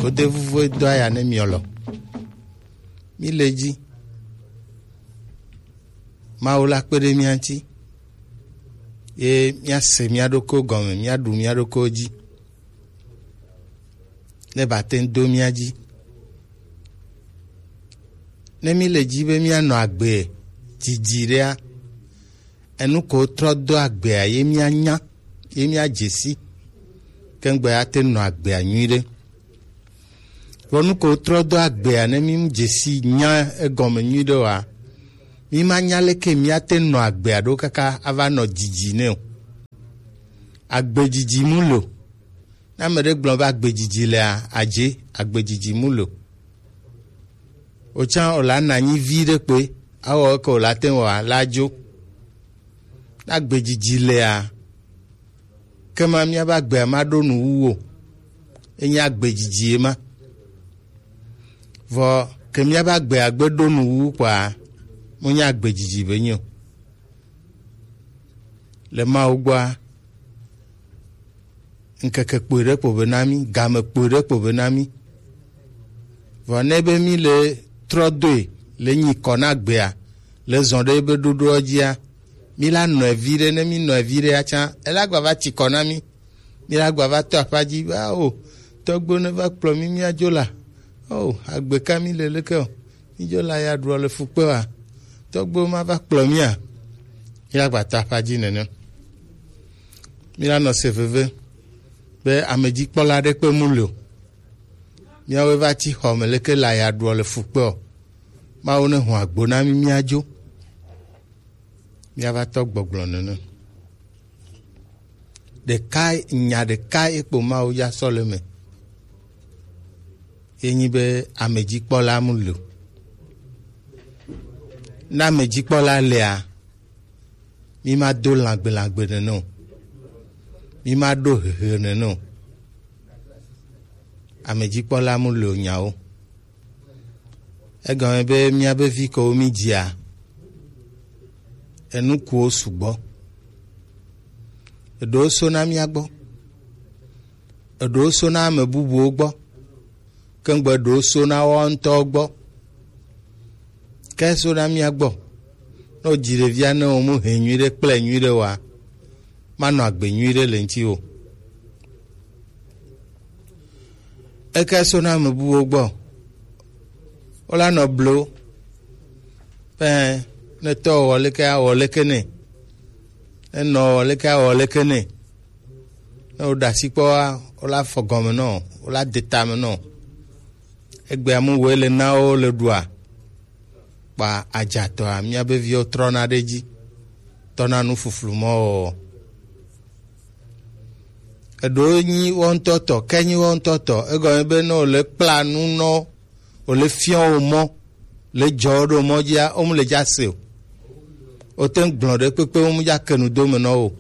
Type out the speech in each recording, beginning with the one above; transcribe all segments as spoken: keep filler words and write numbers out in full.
Godevuvu e do aya ne miɔ lɔ. Mi le ji. Mawu la kpe ɖe mía ŋuti. Ye míase mía ɖokuiwo gɔme, míaɖu mía ɖokuiwo dzi. Ne ba te ŋu do mía dzi. Ne mi le ji be míanɔ agbe didi ɖea, enu ko trɔ do agbea ye míanya, ye míadze si, kengbe ate nɔ agbea nyuiɖe. Vɔ nu ko trɔ do agbea ne mi dze si nya egɔme nyuiɖe oa, mi ma nya leke míate nɔ agbea ɖo kaka ava nɔ didi nɛ o. Agbe didi mu lo. Ne ame ɖe gblɔ be agbe didi lea, adze agbe didi mu lo. Otsã o la na anyi vi ɖe kpe, awɔ eke o la te ŋu wa la dzo. Ne agbe didi lea, kema míabe agbea ma ɖo nu wu o. Enye agbe didi ye ma. Vɔ ke míabe agbea gbe ɖo nu wu kpɔa, mo nya agbe didi be nyo. Le Mawu gbɔa, ŋkeke kpui ɖe kpo be na mí, game kpui ɖe kpo be na mí. Vɔ ne be mí le trɔ doe le nyi kɔ na gbea, le zɔn ɖe be ɖoɖoɔ dzia, mí la nɔe vi ɖe, ne mí nɔe vi ɖe ya tsã, ela gba va tsi kɔ na mí. Mí la gba va tɔ aƒa dzi be, ao, tɔgbo ne va kplɔ mí míadzo la. Ao, agbe ka mí le leke o. Mí dzo la ya ɖuɔ le fukpe wa. Tɔgbo ma va kplɔ mía. Mí la gba tɔ aƒa dzi nene. Mí la nɔ se veve be amedzikpɔla ɖe kpe mu le o. Míawoe va tsi xɔ me leke la ya ɖuɔ le fukpe o. Mawu ne hu agbo na mí míadzo. Míava tɔ gbɔgblɔ nene. Ɖeka, nya ɖeka ye kpo Mawu ya sɔ le me. Ye nyi be amedzikpɔla mu le o. Ne amedzikpɔla lea, mi ma do lãgbe lãgbe nene o. Mi ma ɖo hehe nene o. Amedzikpɔla mu le o nyawo. Egɔme be míabe vi kewo mí dzia, enukuwo sugbɔ. Eɖewo sona mía gbɔ. Eɖewo sona ame bubuwo gbɔ. Kengbe eɖewo sona woawo ŋutɔwo gbɔ. Ke sona mía gbɔ. Ne wodzi ɖevia ne wo mu hɛ nyuiɖe kple nyuiɖe wa, manɔ agbe nyuiɖe le ŋuti o. Eke sona ame bubuwo gbɔ. Wola nɔ blo. Pɛ, ne tɔ wɔ leke awɔ leke nɛ. Ne nɔ wɔ leke awɔ leke nɛ. Ne woɖe asi kpɔ wa, wola fɔ gɔme nɔ, wola de tame nɔ. Egbea mu woe le na wo le ɖua. Kpa adzatɔa, míabe viwo trɔna ɖe edzi, tɔna nu fuflu mɔ wɔwɔ. Eɖewo nyi wɔ ŋutɔ tɔ, ke nyi wɔ ŋutɔ tɔ, egɔme be ne wòle kpla nu nɔ, wòle fiɔ wo mɔ, le dzɔ wo ɖo mɔ dzia, wo mu le dza se o. Wote ŋu gblɔ ɖe kpekpe, wo mu dza ke nu do me nɔ wo.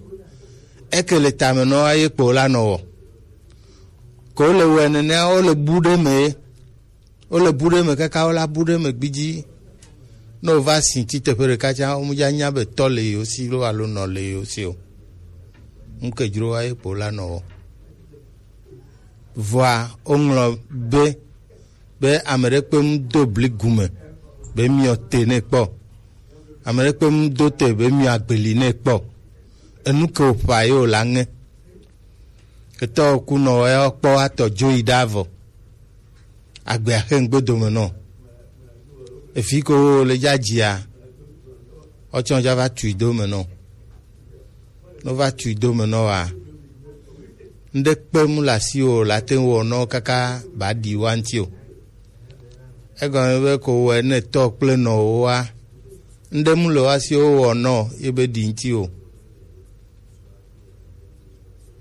Eke le tame nɔ eye kpo la nɔ wɔ. Ko le wɔe nenea, wo le bu ɖe me ye. Wole bu ɖe me kaka wola bu ɖe me gbidzi. Ne wova si tsi teƒe ɖeka tsã, womedza nya be tɔ le yewo si lo alo nɔ le yewo si o. Ŋke dzro wa ye kpo la nɔ wɔ. Vɔa woŋlɔ be, be ame ɖe kpe ŋu do bli gume be miɔ te nɛ kpɔ. Ame ɖe kpe ŋu do te be miɔ agbeli nɛ kpɔ. Enu ke wòƒã ye wòla ŋe. Etɔ kunɔ ya kpɔ atɔ dzo yi ɖa vɔ. Agbea xe ŋgbe dome nɔ. Efi ko wo le dza dzia, ɔtsɔ dza va tui dome nɔ. No va tui dome nɔ wa. Ŋɖe kpe mu le asi o, la te wɔ nɔ kaka ba ɖi wa ŋti o. Egɔme be ko wɔ ne tɔ kple nɔ wo wa. Ŋɖe mu le wa si wo wɔ nɔ ye be ɖi ŋti o.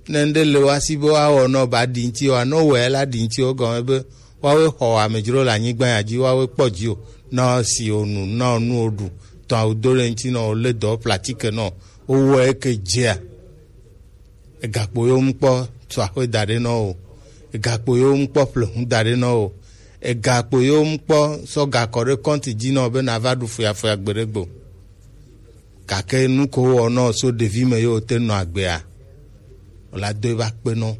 Ne ŋɖe le woasi be woawɔ nɔ ba ɖi ŋti oa, ne wowɔe la ɖi ŋti o, gɔme be woawoe xɔ amedzro le anyigba ya dzi, woawoe kpɔ dzi o. Na si o nu, na o nu o ɖu, tɔ awu do ɖe ŋti nɔ, o le dɔ platike nɔ, wowɔe ke dzea. Egakpo yewo ŋu kpɔ sɔ axwe da ɖe nɔ o. Egakpo yewo ŋu kpɔ ƒle hu da ɖe nɔ o. Egakpo yewo ŋu kpɔ sɔ gakɔ ɖe kɔnti dzi nɔ be na va ɖu foyafoya gbe ɖe gbe o. Gake nu ko wowɔ nɔ so ɖevi me yewo te nɔ agbea, wòla do eva kpe nɔ.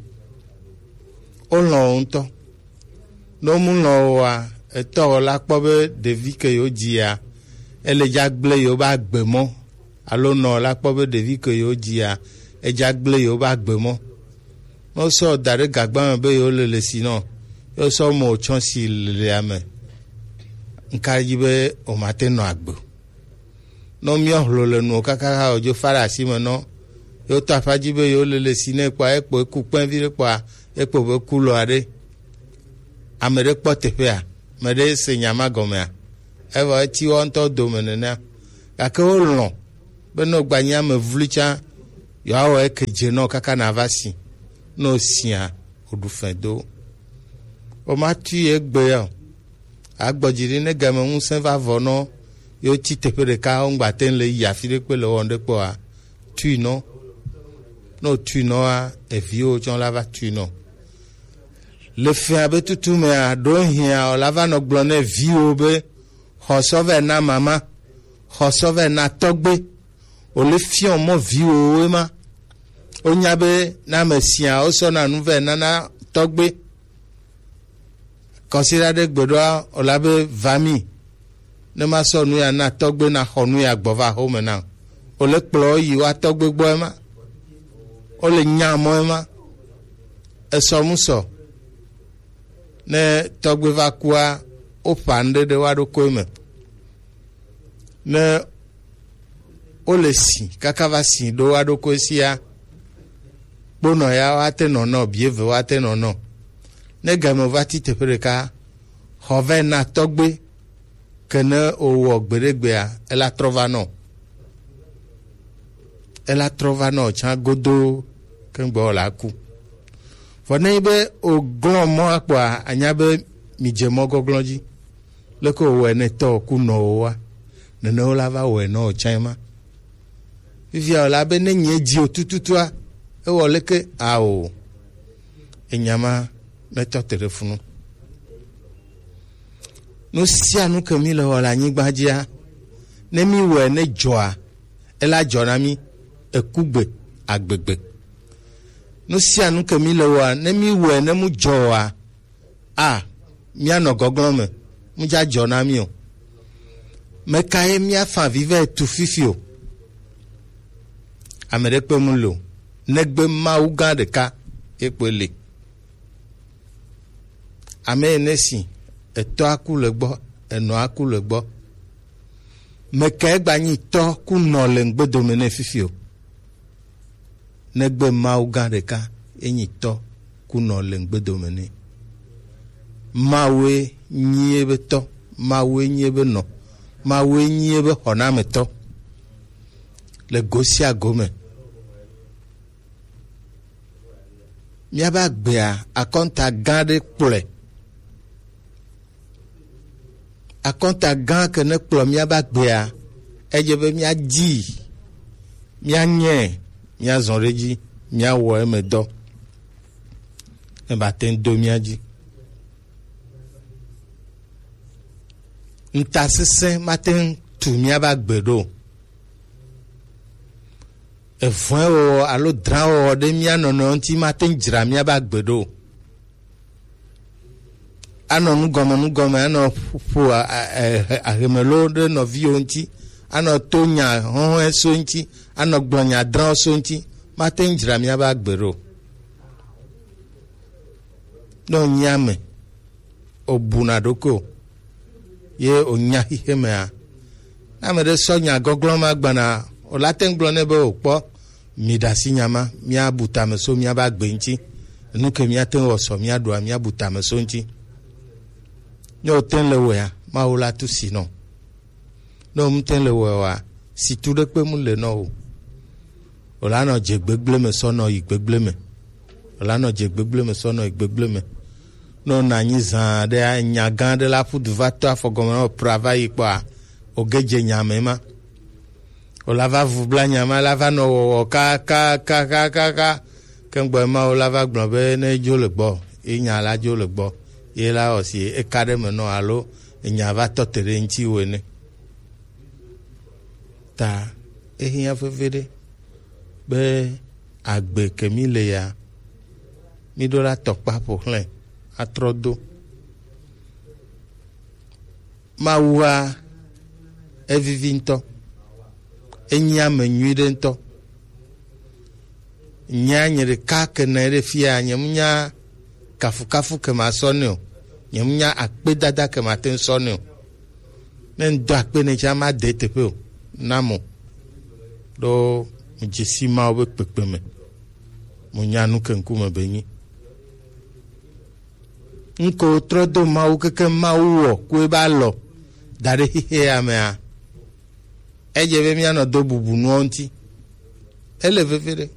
Wolɔ̃ wo ŋutɔ. Ne mu lɔ̃ oa, etɔ la kpɔ be ɖevi ke yewo dzia, ele dza gblẽ yewo be agbe mɔ. Alo nɔ la kpɔ be ɖevi ke yewo dzia, edza gblẽ yewo be agbe mɔ. Ne wosɔ da ɖe gagba me be yewo lele si nɔ, ye wosɔ mɔ tsɔ si lelea me, nka dzi be womate nɔ agbe o. Nɔ miɔ hlo le nuwo kaka ha wòdzo fa ɖe asi me nɔ, yewo tɔ aƒa dzi be yewo lele si nɛ kpɔa, ekpo eku kpɛvi ɖe kpɔa, ekpo be ku lɔ aɖe. Ame ɖe kpɔ teƒea, ame ɖe se nya ma gɔmea, evɔ eti wo ŋutɔ dome nenea. Gake wolɔ̃ be ne wògba nyi ame vloe tsã, yewoawɔ eke dze nɔ kaka nava si. Ne wòsia, wòɖu fɛ̃ do. Womatui egbe ya o. Agbɔ dzi ɖi ne game ŋusẽ va vɔ nɔ, yewo tsi teƒe ɖeka, woŋgba te ŋu le yi afi ɖe kpe le wɔm ɖe kpɔa, tui nɔ. Ne wòtui nɔa, eviwo tsɔ la va tui nɔ. Le fia be tutu mea, ɖo hiã o la va nɔ gblɔ ne viwo be, xɔ sɔ vɛ na mama, xɔ sɔ vɛ na tɔgbe. O le fiɔ mɔ viwo ma. O nya be na me sia o sɔ na nu vɛ na na tɔgbe. Kɔsiɖa ɖe gbeɖoa, o la be va mi. Ne ma sɔ nu ya na tɔgbe na xɔ nu ya gbɔ va xome na. O le kplɔ yi wa tɔgbe gbɔ ema. O le nya mɔ ema. Esɔ mu sɔ. Ne tɔgbe va kua, o ƒa nu ɖe ɖe wa ɖo koe me. Ne o le si, kaka va si ɖo wa ɖo koe sia. Kponɔ ya wa te nɔ nɔ, bieve wa te nɔ nɔ. Ne game va ti teƒe ɖeka, xɔ vɛ na tɔgbe, ke ne o wɔ gbeɖegbea, ela trɔ va nɔ. Ela trɔ va nɔ tsã godo, ke ŋgbɔ la ku. Vɔ ne nyi be o glɔ̃ mɔ akpɔa, anya be mi dze mɔ gɔglɔ̃ dzi. Leke o wɔ ne tɔ ku nɔ o wa, nene o la va wɔ nɔ o tsã ma. Fifia o la be ne nye dzi o tututua, ewɔ leke ao. Enya ma mɛtɔ te ɖe funu. Nu sia nu ke mi le wɔ le anyigba dzia, ne mi wɔe ne dzɔa, ela dzɔ na mi, ekugbe, agbegbe. Nu sia nu ke mi le wɔa, ne mi wɔe ne mu dzɔ oa, a, mianɔ gɔglɔ̃ me, mu dza dzɔ na mi o. Meka ye miafa avi vɛ tu fifi o? Ame ɖe kpe mu le o, negbe Mawu gã ɖeka ye kpe le. Ame ene si, etɔ aku le gbɔ, enɔ aku le gbɔ. Meka ye gba nyi tɔ ku nɔ le ŋgbedome ne fifi o? Negbe Mawu gã ɖeka, enyi tɔ ku nɔ le ŋgbedome nɛ. Mawue nyi ebe tɔ, Mawue nyi ebe nɔ, Mawue nyi ebe xɔnametɔ le go sia go me. Míabe agbea, akɔnta gã ɖe kplɔe. Akɔnta gã ke ne kplɔ míabe agbea, edze be míadi, míanyae, míazɔ ɖe edzi, míawɔ eme dɔ. Ne ba te ŋu do mía dzi. Ŋutasesẽ mate ŋu tu míabe agbe ɖo o. Evɔ̃ewɔwɔ alo drãwɔwɔ ɖe mía nɔnɔewo ŋuti mate ŋu dzra míabe agbe ɖo o. Anɔ nugɔme nugɔme, anɔ ƒo a- a- a- ahemelo ɖe nɔviwo ŋuti, anɔ to nya hɔhɔe so ŋuti, anɔ gblɔ nya drãwo so ŋuti, mate ŋu dzra míabe agbe ɖo o. Ne wònye ame, wòbuna ɖokui o, ye wònya xixe mea, ne ame ɖe sɔ nya gɔglɔ̃ ma gbana, wòla te ŋu gblɔ nɛ be, wòkpɔ, mi ɖe asi nya ma, míabu tame so míabe agbe ŋuti. Nu ke míate ŋu wɔ sɔ míaɖua, míabu tame so ŋuti. Ne wòte ŋu le wɔea, Mawu la tu si nɔ. Ne womte le wɔe oa, situ ɖekpe mu le nɔ o. Wòla nɔ dze gbegblẽ me sɔ nɔ yi gbegblẽ me. Wòla nɔ dze gbegblẽ me sɔ nɔ yi gbegblẽ me. Ne wònɔ anyi zã aɖea, nya gã aɖe la ƒu du va to afɔ gɔme na wò pra va yi kpɔa, wòge dze nya me ma. Wòla va vu bla nya ma, la va nɔ wɔwɔ kakakaka. Ke ŋgbɔ ma wòla va gblɔ be ne dzo le gbɔ, ye nya la dzo le gbɔ, ye la wɔ si eka ɖe me nɔ alo enya va tɔ te ɖe ŋuti wo ene. Ta ehiã veviɖe be agbe ke mí le ya, mí ɖo la tɔkpa ƒo xlẽ atrɔ do. Mawua evivi ŋutɔ, enyi ame nyui ɖe ŋutɔ. Nya nye ɖeka ke nɔ ɖe fia, nye mu nya kafukafu ke ma sɔ nɛ o, nye mu nya akpedada ke ma te ŋu sɔ nɛ o. Ne ŋdɔ akpe ne tsa ma de teƒe o, na mo. Ɖo mo dzesi Mawu be kpekpe me, mo nya nu ke ŋkume be nyi. Ŋko trɔ do Mawu keke Mawu wɔ ku ebe alɔ da ɖe xexea mea, edze be míanɔ do bubu nuwo ŋuti. Ele veve ɖe.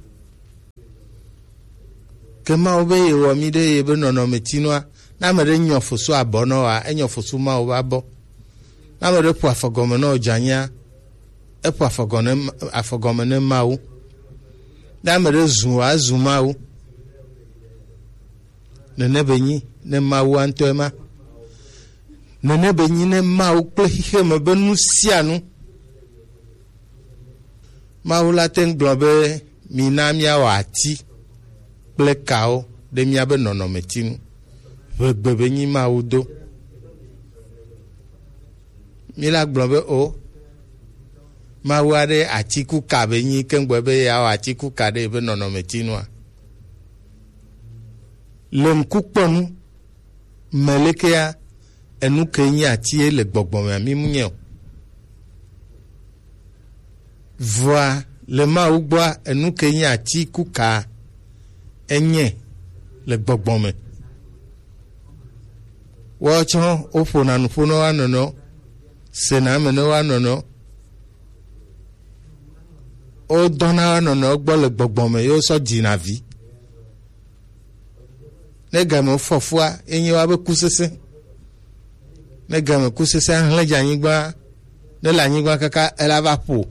Ke Mawu be yewɔ mí ɖe yebe nɔnɔmetinua, ne ame ɖe nyɔ fosu abɔ nɔ wa, enyɔ fosu Mawu be abɔ. Ne ame ɖe ƒo afɔ gɔme nɔ dzanyea, eƒo afɔ gɔme ne, afɔ gɔme ne Mawu. Ne ame ɖe zu wa, ezu Mawu. Nene be nyi ne Mawu ŋutɔe ma. Nene be nyi ne Mawu kple xexeme be nu sia nu. Mawu la te ŋu gblɔ be, mina míawɔ ati kple kawo ɖe míabe nɔnɔmeti ŋu. Ʋegbe be nyi Mawu do. Míla gblɔ be o, Mawu aɖe ati ku ka be nyi keŋgbɔ be yeawɔ ati ku ka ɖe ebe nɔnɔmeti nua. Le ŋkukpɔnu me lekea, enu ke nyi ati ye le gbɔgbɔ mea, mi mu nye o. Vɔa le Mawu gbɔa, enu ke nyi ati ku ka enye le gbɔgbɔ me. Woawo tsɔ woƒona nuƒo ne woa nɔnɔewo, sena eme ne woa nɔnɔewo. Wodɔna woa nɔnɔewo gbɔ le gbɔgbɔ me, ye wosɔ dzina vi. Ne game fɔ fua, enye woabe kusesẽ. Ne game kusesẽ ahlẽ dze anyigba, ne le anyigba kaka ela va ƒo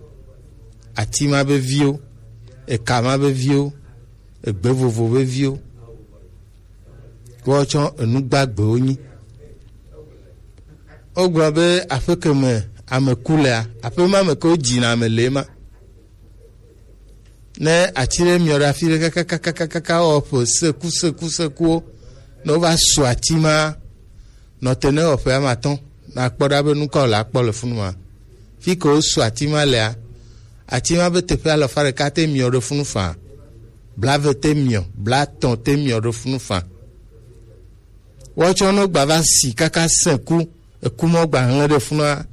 ati ma be viwo, eka ma be viwo, egbe vovo be viwo. Woawo tsɔ enu gbagbewo nyi. Wogblɔ be aƒe ke me ame ku lea, aƒe ma me ke wodzina ame le ema. Ne ati ɖe miɔ ɖe afi ɖe kakakakaka wɔ ƒe seku seku sekuwo, ne wova su ati ma, nɔ te ne wɔ ƒe ame atɔ̃, nakpɔ ɖa be nu ka wòle akpɔ le funu ma. Fi ke wosu ati ma lea, ati ma be teƒe alafa ɖeka te miɔ ɖe funu faa, blave te miɔ, blatɔ̃ te miɔ ɖe funu faa. Woatsɔ ne wogba va si kaka sẽku, eku ma wogba hlẽ ɖe funua,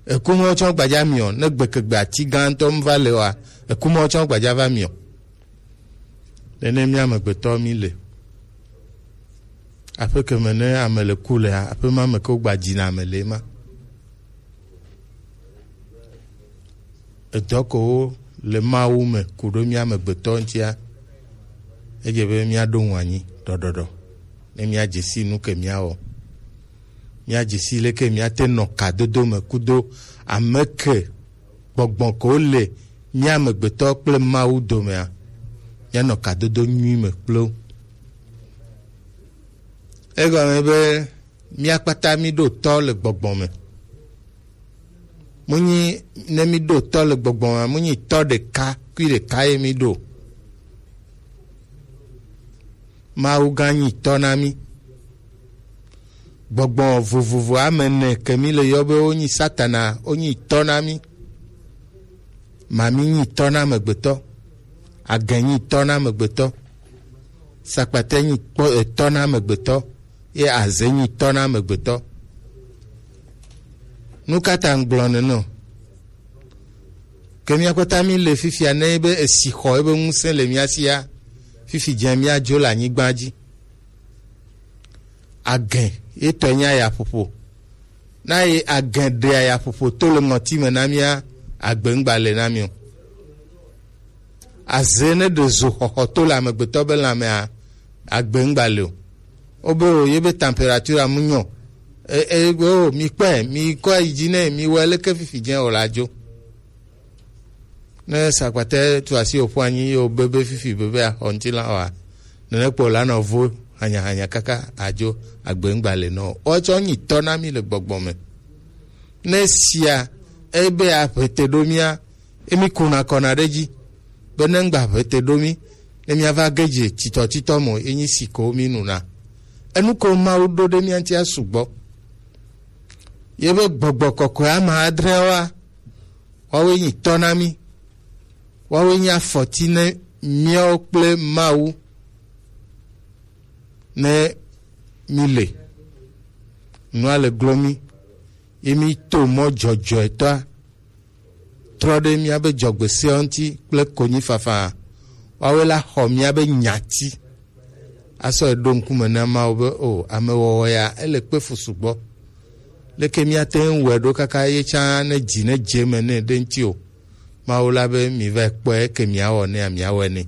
eku ma woatsɔ gbadza miɔ, ne gbekegbe ati gãtɔ mu va le oa, eku ma woatsɔ gbadza va miɔ. Nene mía amegbetɔ mí le. Aƒe ke me ne ame le ku lea, aƒe ma me ke wogba dzina ame le ema. Edɔ kewo le Mawu me ku ɖo mía amegbetɔ ŋutia, edze be míaɖo ŋu anyi ɖɔɖɔɖɔ, ne míadze si nu ke míawɔ. Míadze si leke míate nɔ kadodo me kudo ame ke gbɔgbɔ kewo le mía amegbetɔ kple Mawu domea, míanɔ kadodo nyui me kple wo. Egɔme be mía kpata míɖo tɔ le gbɔgbɔ me. Munyi ne míɖo tɔ le gbɔgbɔ me, munyi tɔ ɖeka kui ɖeka ye míɖo. Mawu gã nyi tɔ na mí. Gbɔgbɔ vovovo ame ene ke mí le yɔ be wonyi Satana, wonyi tɔ na mí. Mami nyi tɔ na amegbetɔ, agɛ nyi tɔ na amegbetɔ, sakpatɛ nyi kpɔ etɔ na amegbetɔ, ye azɛ nyi tɔ na amegbetɔ. Nu ka ta ŋgblɔ nene o? Ke mía kpata mí le fifia ne be esi xɔ ebe ŋusẽ le mía sia, fifi dze mía dzo le anyigba dzi. Agɛ ye tɔ nya ya ƒoƒo. Na ye agɛ ɖea yaƒoƒo to le ŋɔti me na mía, agbe ŋgba le na mí o. Aze ne ɖe zo xɔxɔ to le amegbetɔ be lãmea, agbe ŋgba le o. Wobe o, ye be temperature amu nyɔ. E, e, o, mi kpɔe, mi kɔ yi dzi nɛ, mi wɔe leke fifi dze o la dzo. Ne sakpatɛ tu asi wòƒu anyi ye wòbebe fifi bebe axɔ ŋutilã oa, nene kpɔ la nɔ vo hanyahanya kaka adzo agbe ŋgba le nɔ. Woatsɔ nyi tɔ na mí le gbɔgbɔ me. Ne sia ebe aƒete ɖo mía, emi kuna kɔna ɖe dzi be ne ŋgba ƒete ɖo mí, ne míava ge dze titɔtitɔ mo, enyi si ko mí nuna. Enu ko Mawu ɖo ɖe mía ŋutia sugbɔ. Ye be gbɔgbɔ kɔkɔe ame adre wa, woawoe nyi tɔ na mí, woawoe nyi afɔti ne míawo kple Mawu ne mí le. Nua le glo mí, ye mí to mɔ dzɔdzɔetɔa trɔ ɖe míabe dzɔgbeseawo ŋuti kple konyifafa. Woawoe la xɔ míabe nyati asɔ ɖo ŋkume na Mawu be, o, amewɔwɔ ya, ele kpe fu sugbɔ. Leke míate ŋu wɔe ɖo kaka ye tsã ne dzi ne dze me nɛ ɖe ŋuti o? Mawu la be, mi va kpɔe, eke miawɔ nɛ, miawɔe nɛ.